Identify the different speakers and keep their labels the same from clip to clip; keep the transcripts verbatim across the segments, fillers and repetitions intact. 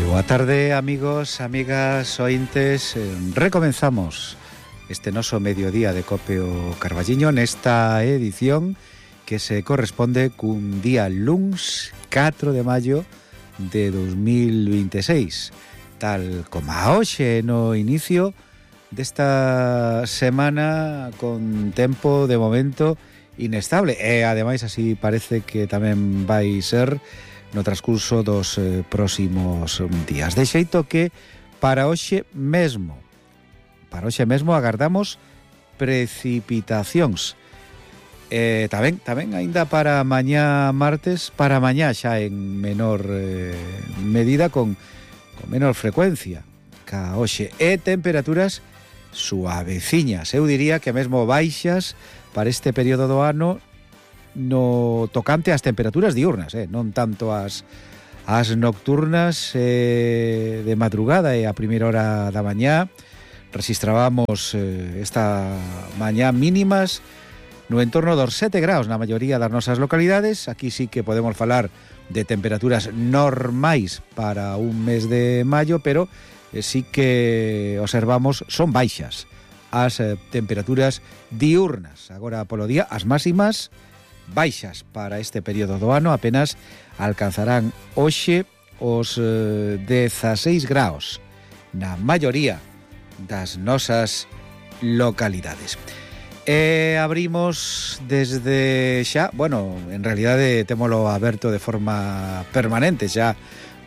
Speaker 1: Boa tarde, amigos, amigas, ointes. Recomenzamos este noso mediodía de Cope o Carballiño nesta edición que se corresponde cun día luns catro de maio de dos mil veintiséis, tal como a hoxe no inicio desta semana con tempo de momento inestable e ademais así parece que tamén vai ser no transcurso dos eh, próximos días. De xeito que para hoxe mesmo, para hoxe mesmo agardamos precipitacións. Eh, tamén, tamén aínda para mañá martes, para mañá xa en menor eh, medida, con, con menor frecuencia ca hoxe. E temperaturas suaveciñas, eu diría que mesmo baixas para este período do ano no tocante ás temperaturas diurnas, eh? non tanto as, as nocturnas eh, de madrugada e a primeira hora da mañá. Rexistrábamos eh, esta mañá mínimas no entorno dos sete graus na maioría das nosas localidades. Aquí sí que podemos falar de temperaturas normais para un mes de maio, pero eh, sí que observamos son baixas as eh, temperaturas diurnas. Agora polo día as máximas baixas para este período do ano apenas alcanzarán hoxe os eh, dezaseis graus na maioría das nosas localidades. E abrimos desde xa, bueno, en realidade témolo aberto de forma permanente xa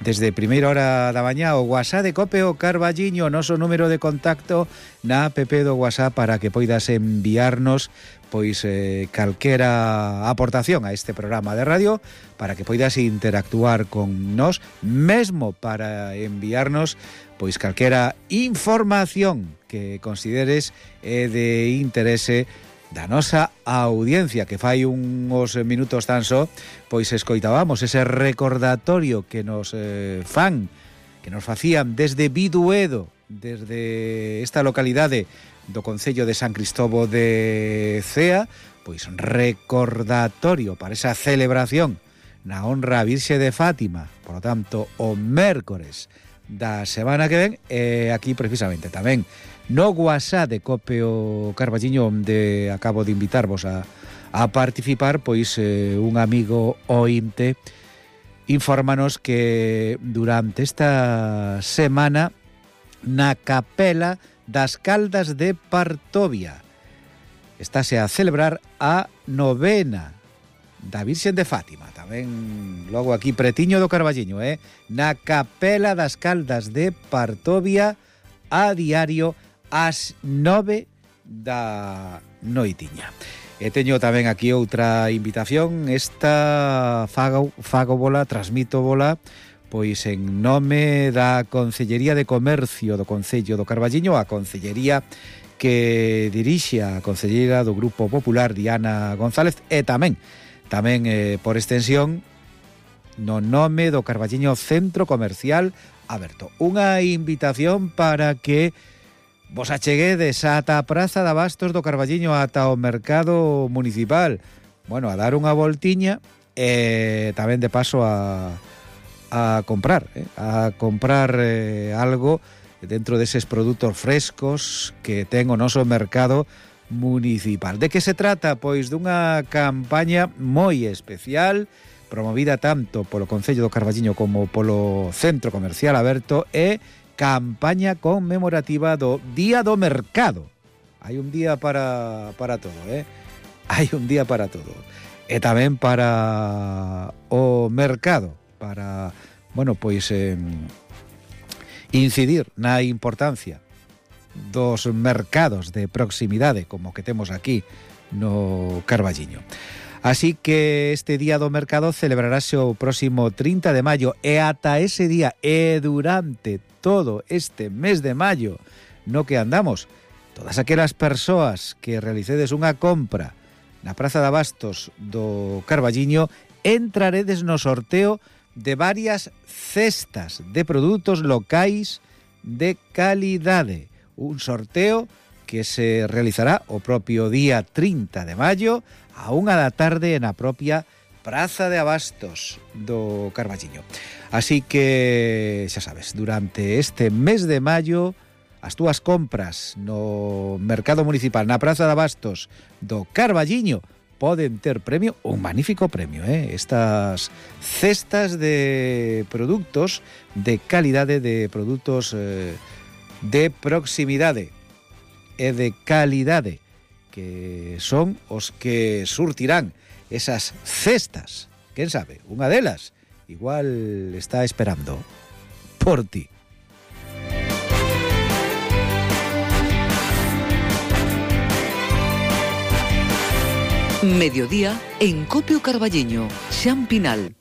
Speaker 1: desde primeira hora da mañá o WhatsApp de Cope o Carballiño, noso número de contacto na app do WhatsApp para que poidas enviarnos pois eh, calquera aportación a este programa de radio, para que poidas interactuar con nós, mesmo para enviarnos pois calquera información que consideres é de interese da nosa audiencia, que fai uns minutos tan só pois escoitábamos ese recordatorio que nos eh, fan, que nos facían desde Biduedo, desde esta localidade do concello de San Cristobo de Cea, pois recordatorio para esa celebración na honra a Virxe de Fátima, por lo tanto o mércores da semana que ven, e aquí precisamente tamén no WhatsApp de Cope o Carballiño, onde acabo de invitarvos a, a participar, pois eh, un amigo ointe infórmanos que durante esta semana na capela das Caldas de Partovia estáse a celebrar a novena da Virxen de Fátima, tamén logo aquí pretiño do Carballiño, eh? na capela das Caldas de Partovia a diario ás nove da noitiña. E teño tamén aquí outra invitación, esta fago, fago bola, transmito bola pois en nome da Concellería de Comercio do Concello do Carballiño, a concellería que dirixe a concelleira do Grupo Popular Diana González, e tamén tamén eh, por extensión no nome do Carballiño Centro Comercial Aberto. Unha invitación para que vos acheguedes ata a Praza de Abastos do Carballiño, ata o Mercado Municipal, bueno, a dar unha voltiña e tamén de paso a a comprar, eh, a comprar eh, algo dentro deses produtos frescos que ten o noso mercado municipal. De que se trata? Pois dunha campaña moi especial, promovida tanto polo Concello do Carballiño como polo Centro Comercial Aberto, e campaña conmemorativa do Día do Mercado. Hai un día para, para todo, eh? Hai un día para todo. E tamén para o mercado, para, bueno, pois eh, incidir na importancia dos mercados de proximidade como que temos aquí no Carballiño. Así que este Día do Mercado celebrarase o próximo trinta de maio e ata ese día e durante todo este mes de maio no que andamos, todas aquelas persoas que realicedes unha compra na Praza de Abastos do Carballiño entraredes no sorteo de varias cestas de produtos locais de calidade. Un sorteo que se realizará o propio día trinta de maio a unha da tarde na propia Praza de Abastos do Carballiño. Así que, xa sabes, durante este mes de maio, as túas compras no mercado municipal, na Praza de Abastos do Carballiño, poden ter premio, un magnífico premio, eh? Estas cestas de produtos de calidade, de produtos eh, de proximidade e de calidade, que son os que surtirán esas cestas. Quen sabe, unha delas igual está esperando por ti.
Speaker 2: Mediodía en Copio Carballiño, Xan Pinal.